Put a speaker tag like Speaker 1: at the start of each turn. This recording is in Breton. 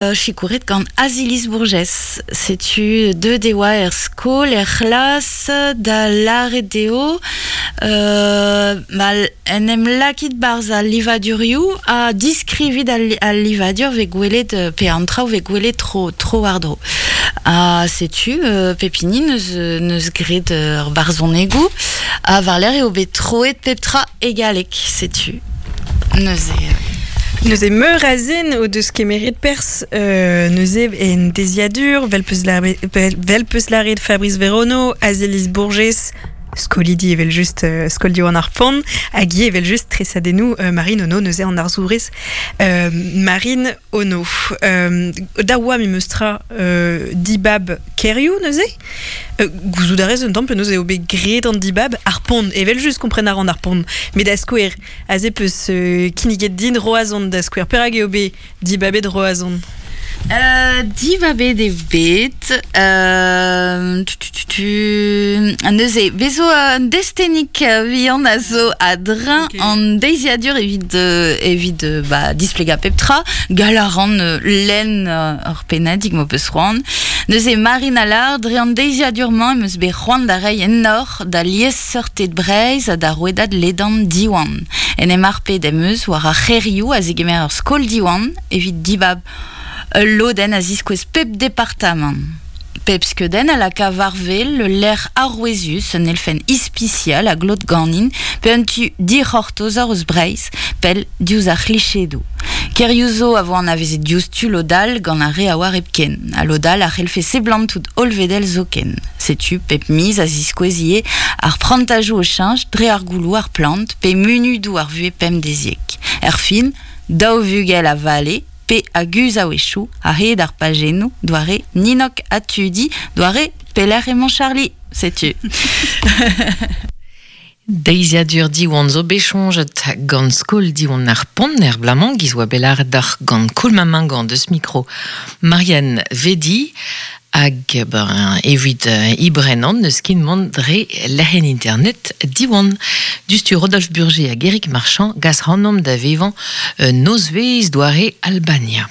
Speaker 1: Sikouret gant Aziliz Bourgès. Setu deuet e oa er skol, er c'hlas, da lâret dezho ma en em lakit 'barzh al livadurioù ha diskrivit al livadur 'vez gwelet pe an traoù 'vez gwelet tro tro-war-dro. Ha setu pep hini 'neus 'neus graet ur barzhonegoù ha war-lerc'h eo bet troet pep tra e galleg, setu. Neuze.
Speaker 2: Neuze meur a zen o deus kemeret perzh neuze en deziadur, vel peus vel peus lâret Fabrice Verono, Azelis Bourges, skolidi evel-just skol Diwan ar Pont, hag ivez evel-just tresadennoù Marine Ono, neuze an arzourez Marine Ono. Da oa memes tra dibab kêrioù neuze Gouzout a rez un tamm penaos eo bet graet an dibab ar pont, evel-just kompren a ran ar pont. Met da skouer, aze peus kinniget din Roazhon da skouer. Perak eo bet dibabet Roazhon?
Speaker 1: Dibabet eo bet neuze bez zo un destennig vihan a zo a-dreñv an deiziadur evit evit ba displegañ pep tra. Gall a ran lenn ur pennadig m'ho peus c'hoant. Neuze Marine Allard, dre an deiziadur-mañ em eus bet c'hoant da reiñ enor da liesseurted Breizh ha da rouedad ledan Diwan. En em harpet em eus war ar c'hêrioù a zegemer ur skol Diwan evit dibab ul lodenn a ziskouez pep departamant. Pep skeudenn a laka war-wel ul lec'h arouezius, un elfenn ispisial a glot ganin, pe un tu dic'hortozer eus Breizh, pell diouzh ar c'hlichedoù. Kêrioù zo a vo anavezet diouzhtu lod all gant ar re a oar hepken, ha lod all a c'hellfe seblantout hollvedel zoken. Setu pep miz a ziskouez ivez ar prantajoù o cheñch dre ar gouloù, ar plant pe munudoù ar vuhez pemdeziek. Erfin, daou vugel a vale pe a guzh a-wechoù a-hed ar pajennoù, doare Ninok ha Tudi, doare Pelec'h emañ Charlie, setu.
Speaker 3: Deiziadur Diwan zo bet soñjet gant skol Diwan ar Pont er bloaz-mañ, giz oa bet lâret deoc'h gant Koulma Mingant deus mikro Marianne Vedi hag ben, evit ibrenan n'eus ket mont dre lec'hienn internet Diwan. Diouzhtu Rodolphe Burger hag Eric Marchand gas c'hanomp da vevañ nozvezh doare Albania.